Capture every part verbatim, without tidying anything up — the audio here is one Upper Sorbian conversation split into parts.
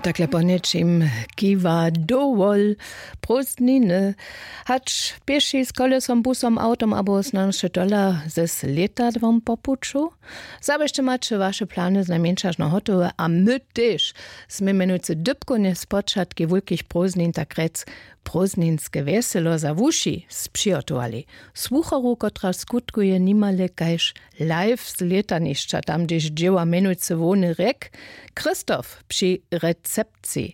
Takle po něčim kiwa dowol prózdniny, hač pěši, z kolesom, busom, awtom abo snano tola z lětadłom po puću. Zaběsće maće waše plany znajmjeńšažno hotowe a my tež smy mjenujcy dypkownje spočatki wulkich prózdnin tak rjec prózdninske wjeselo za wuši spřihotowali. Słucharu, kotraž skutkuje nimale kaž live z lětanišća, tam hdźež dźěła mjenujcy hłowny rjek Christoph při recepciji.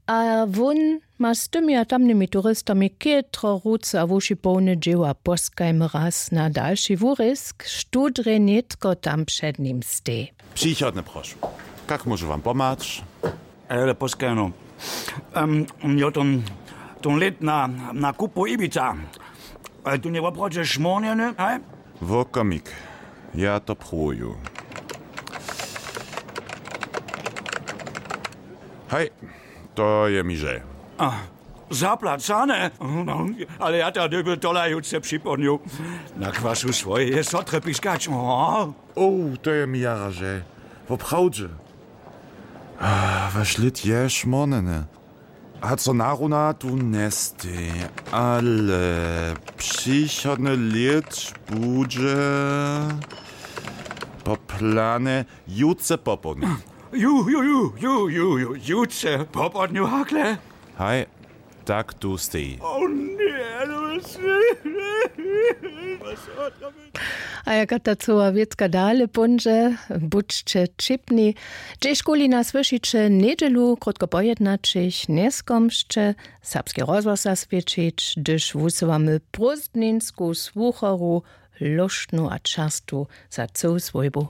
A wón ma z tymi a tamnymi turistami chětro ruce a wuši połne dźěła. Poskajmy raz na dalši wurězk, štó drje nětko tam před nim stej. Přichodne prošu. Kak móžu wam pomhać? Ale poskajno, um, jo, ten, ten let na, na kupu Ibiza. Ale tu nje woprawdźe šmórnjeny, haj? Wokomik, ja to pruju. Haj, to je mi žel. A, zaplacane? Ale ja ta dyby tola jutře připołdnju na kwasu swojeje sotre piskać. O. O, to je mi jara žel. Woprawdźe. A, waš lět je šmórnjeny. A co naruna tu njestej, ale přichodny lět budźe po planje jutře popołdnju. Ju, ju, ju, ju, ju, ju, jutře popołdnju hakle. Haj, tak tu steji. O nje, no. A jaka ta cyła wěcka dale póńdźe, budźće ćipni. Hdźežkuli nas słyšiće njedźelu krótko po jednaćich, njeskomsće serbski rozhłos zaswědčić, hdyž wusywamy prózdninsku słucharu, lóštnu a čerstwu za cyłu swójbu.